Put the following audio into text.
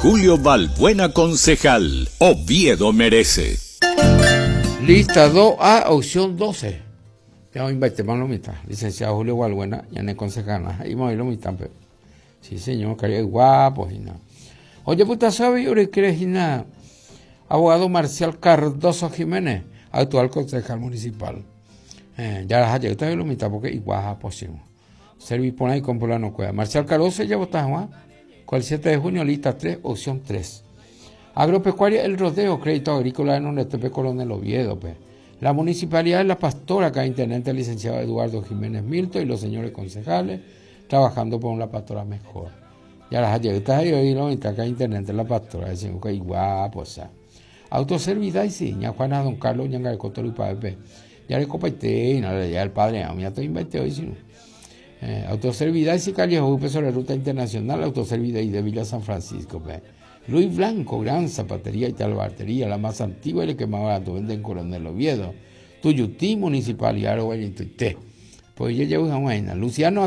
Julio Balbuena concejal. Oviedo merece. Lista 2A, opción 12. Ya oĩmbaitéma lo mitã. Licenciado Julio Balbuena, ñane concejal. He'íma oĩ lo mitã pe. Sí, señor, karia'y guapo hína. Ojepytaso avei orekére hína abogado Marcial Cardoso Jiménez, actual concejal municipal. Eh, jaraha jeýta avei lo mitã porque iguapo chérõ. Servi porã ikomplanokuéra. Marcial Cardoso ejavota hag̃ua ko el 7 de junio, lista 3, opción 3. Agropecuaria El Rodeo, Crédito Agrícola renondetépe Coronel Oviedo-pe. La Municipalidad de La Pastora, acá Intendente Licenciado Eduardo Jiménez Milto y los señores concejales, trabajando por una Pastora mejor. Jaraha jeýta he'i oĩrõ oĩta acá Intendente La Pastora, decimos que iguapo esa. Autoservidaisi, ña Juana Don Carlos oñangareko torypa'épe. Jarekopaite, ya el padre, umi atoĩmbaite oĩ sino. Eh, Autoservidaisi calle Hovýpe sobre ruta internacional, Autoservidai de Villa San Francisco-pe. Luis Blanco, gran zapatería y talabartería, la más antigua y la que más barato vende en Coronel Oviedo. Tuyutí, Municipalidad Roguayituite. Pues yo llevo hag̃ua hína. Luciano.